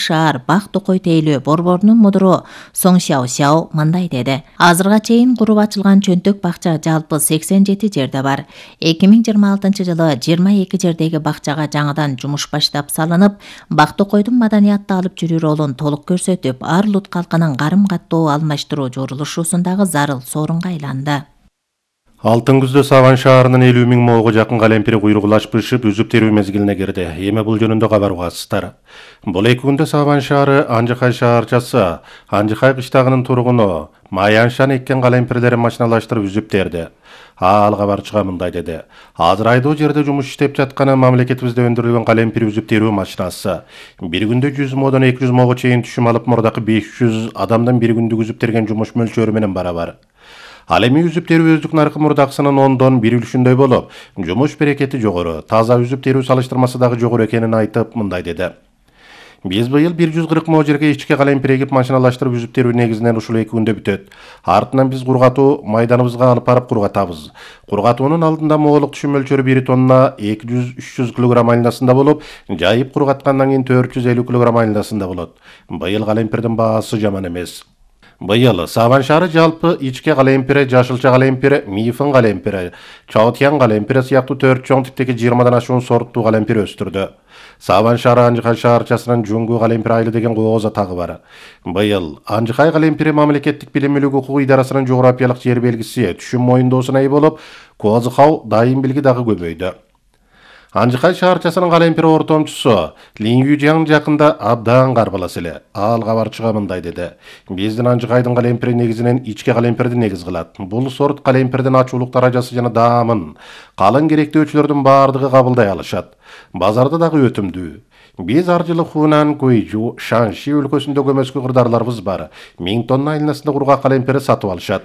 шаар Бак Токой тейлөө борборунун мудуру Соң Сяо мындай деди. Азырга чейин куруп ачылган чөнтөк бакча жалпы 87 жерде бар. 2026-жылы 22 жердеги бакчага жаңыдан жумуш баштап салынып, Бак Токойдун маданиятты алып жүрүү ролун толук көрсөтүп, ар улут калкынын карым-каттоо алмаштыруу журулушусундагы зарыл сорунга айланды. Алтын күздө Саван шаарынын 50 000 моого жакын калемпири куйругулашпышып, үзүп терүү мезгилине кирди. Эми бул жөнүндө кабар угасыздар. Бул 2 күндө Саван шаары Анжыкай шаарчасы, Анжыкай кыштагынын тургуну Маяншан эккен калемпирлерин машиналаштырып үзүп терди. Ал кабарчыга мындай деди. Азыр айдоо жерде жумуш иштеп жатканы мамлекетибизде өндүрүлгөн калемпир үзүп терүү машинасы. Bir күндө 100 модон 200 мого чейин түшүм алып, мурдакы 500 адамдан bir күндүк үзүп терген жумуш мөлчөрү менен барабар. Ал эми үзүп терүү өздүк наркы мурдакысынын 10дон 1 үлүшүндөй болуп, жумуш берекети жогору, таза үзүп терүү салыштырмасы дагы жогору экенин айтып, мындай деди. Биз быйыл 140 мо жерге ичке калемпир эгип машиналаштырып үзүп терүү негизинен ушул 2 күндө бүтөт. Артынан биз кургатуу майданыбызга алып барып кургатабыз. Кургатуунун алдында моолук түшүм мөлчөрү 1 тонна 200-300 кг айнасында болуп, жайып кургаткандан кийин 450 кг айнасында болот. Быйыл калемпирдин баасы жаман эмес. Быйыл Саван шаары жалпы ичке калемпири, жашылча калемпири, мифын калемпири, чаотьян калемпири сыяктуу 4 чоң типтеги 20дан ашуун сорттуу калемпир өстүрдү. Саван шаары Анжыкай шаарчасынын Жуңгу калемпир айылы деген кооз атагы бар. Быйыл Анжыкай калемпири мамлекеттик билим мүлүк укук идарасынын жогорапиялык жер белгиси түшүм моюндоосуна ээ болуп, Козыкау дайым билги дагы көбөйдү. Анжыкай шаарчасынын калемпир ортомчусу Линюжяң жакында абдан карбалас эле. Ал кабарчыга мындай деди. Биздин Анжыкайдын калемпири негизинен ичке калемпирди негиз кылат. Бул сорт калемпирдин ачуулук даражасы жана даамын калың керектөөчүлөрдүн баардыгы кабылдай алышат. Базарда дагы өтүмдүү. Биз ар жылы Хунан, Гуйжу, Шанши өлкөсүндө көмөскө кырдаарларыбыз бар. 1000 тонна айнасында кургак калемпири сатып алышат.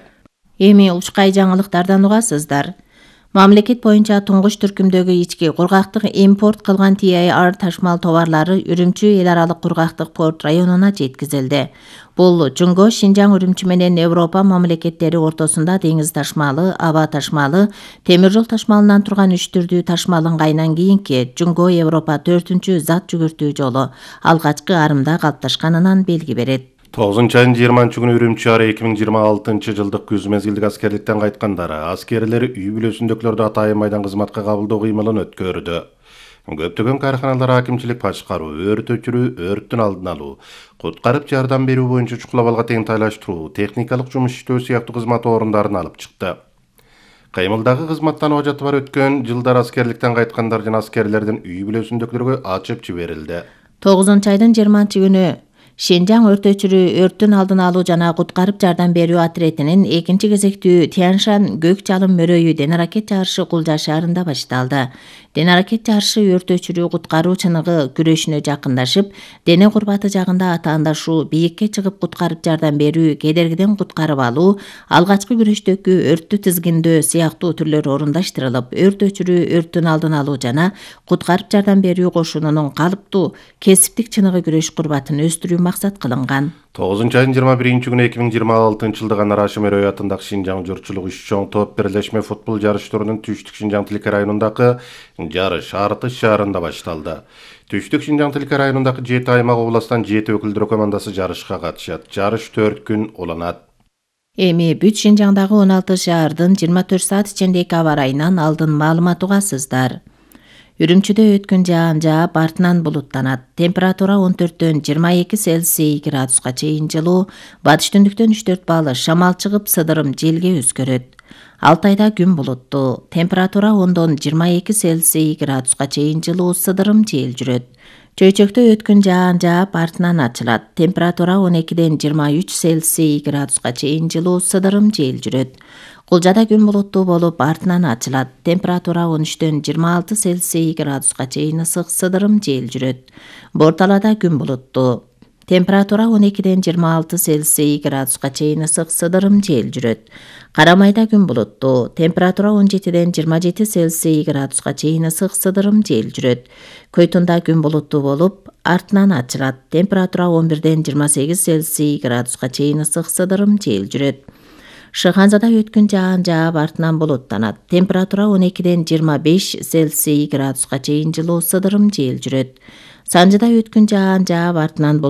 Эми ушкай жаңылыктардан угасыздар. Мамлекет боюнча туңгуч түркүмдөгү ички кургактык импорт кылган TIR ташмал товарлары Үрүмчү эл аралык кургактык порт районуна жеткизилди. Бул Жуңго, Шинжаң, Үрүмчү менен Европа мамлекеттери ортосунда деңиз ташмалы, аба ташмалы, темир жол ташмалынан турган 3 түрдүү ташмал ыңгайынан кийинки Жуңго Европа 4-үнчү зат жүгүртүү жолу алгачкы арымда калыпташканынан белги берет. 9-айдын 20-күнү Үрүмчү шаары 2026-жылдык күз мезгилдик аскерликтен кайткандар аскерлер үй бүлөсүндөгүлөрдү атайын майдан кызматка кабылдоо кыймылын өткөрдү. Көптөгөн каарханалар акимчилик башкаруу, өрт өчүрүү, өрттүн алдын алуу, куткарып жардам берүү боюнча чукулабалга теңтайлаштыруу, техникалык жумуш иштөө сыяктуу кызмат орундарын алып чыкты. Кыймылдагы кызматтан ажаты бар өткөн жылдар аскерликтен кайткандар жана аскерлердин үй бүлөсүндөгүлөргө ачып жиберилди. 9-айдын 20-күнү Шинжаң өрт өчүрүү, өрттүн алдын алуу жана куткарып жардам берүү отрядынын 2-чи кезектүү Тяншан көк чалым мөрөйү денаракет жарышы Кулжа шаарында башталды. Денаракет жарышы өрт өчүрүү куткаруу чыныгы күрөшүнө жакындашып, дене курбаты жагында атаандашуу, бийикке чыгып куткарып жардам берүү, кедергиден куткарып алуу, алгачкы күрөштөгү өрттү тизгиндөө сыяктуу түрлөр орундаштырылып, өрт өчүрүү, өрттүн алдын алуу жана куткарып жардам берүү кошунунун калыптуу кесиптик чыныгы күрөш курбатын өстүрүү максат кылынган. 9-айдын 21-күнү 2026-жылдык Анар Ашим Өрөй атындагы Шинжаң журтчулук 3 чоң топ бирлешме футбол жарыштарынын Түштүк Шинжаң Тилке районундагы жарыш Артыш шаарында башталды. Түштүк Шинжаң Тилке районундагы 7 аймак областан 7 өкүлдөр командасы жарышка катышат. Жарыш 4 күн уланат. Эми бүт Шинжаңдагы 16 шаардын 24 саат ичиндеги аба ырайынан алдын маалымат угасыздар. Үрүмчүдө өткөн жаан жаап, артынан булуттанат. Температура 14-төн 22 Цельсий градуска чейин жылуу, батыш түндүктөн 3-4 балл шамал чыгып, сыдырым желге өзгөрөт. Алтайда күн булуттуу. Температура 10-дон 22 Цельсий градуска чейин жылуу, сыдырым жел жүрөт. Чөйчөктө өткөн жаан жаап, артынан ачылат. Температура 12-ден 23 Цельсий градуска чейин жылуу, сыдырым жел жүрөт. Кулжада күн булуттуу болуп, артынан ачылат. Температура 13-ден 26 Цельсий градуска чейин ысык, сыдырым жел жүрөт. Борталада күн булуттуу. Температура 12-ден 26 Цельсий градуска чейин ысык, сыдырым жел жүрөт. Карамайда күн булуттуу. Температура 17-ден 27 Цельсий градуска чейин ысык, сыдырым жел жүрөт. Көйтүндө күн булуттуу болуп, артынан ачылат. Температура 11-ден 28 Цельсий градуска чейин ысык, сыдырым жел жүрөт. Шыханзада өткөн жаан жаап, артынан булуттанат. Температура 12-ден 25 Цельсий градуска чейин жылуу, сыдырым жел жүрөт. Санжыда өткөн жаан жаап, артынан